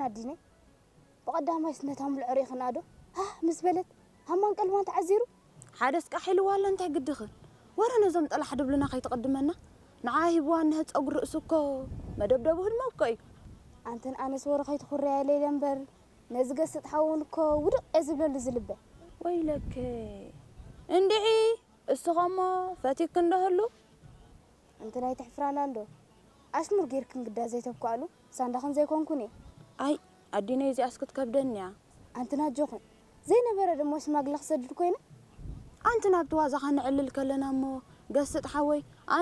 ኣዲነይ፣ ብቐዳማይስ ነታ ምልዖ ርኢኽና ዶ? ሃህ ምስ በለት ሃማን ቀልባን ተዓዚሩ። ሓደስ ቃሕ ኢልዋ ኣሎ፣ እንታይ ግድኽን? ወረ ነዞም ጠላሕ ድብሉና ከይትቕድመና። ንዓ ሂብዋ እነሀ ጸጉሪ ርእሱ እኮ መደብደቡ ህልሞ እኮ እዩ። ኣንተን ኣነስ ወረ ከይትኹርያ ኢለ ኢለ እምበር፣ ነዚ ገስጥ ሓውን እኮ ውድቕ እየ ዝብለሉ ዝልበ። ወይለከ እንድዒ፣ እስኸሞ ፈቲክ እንደህሉ። እንትን ኣይትሕፍራና እንዶ። ኣሽሙር ጌርክን ግዳ ዘይተብኳሉ ሳንዳኽን ዘይኮንኩን እየ። ኣይ ኣዲነይ፣ እዚኣስ ክትከብደኒ እያ። ኣንትን ኣጆኽን ዘይነበረ ደሞ ሽማግለ ክሰድድ ኮይነ። ኣንቲ ናብቲ ዋዛኻ ንዕልል ከለና እሞ ገስጥ ሓወይ፣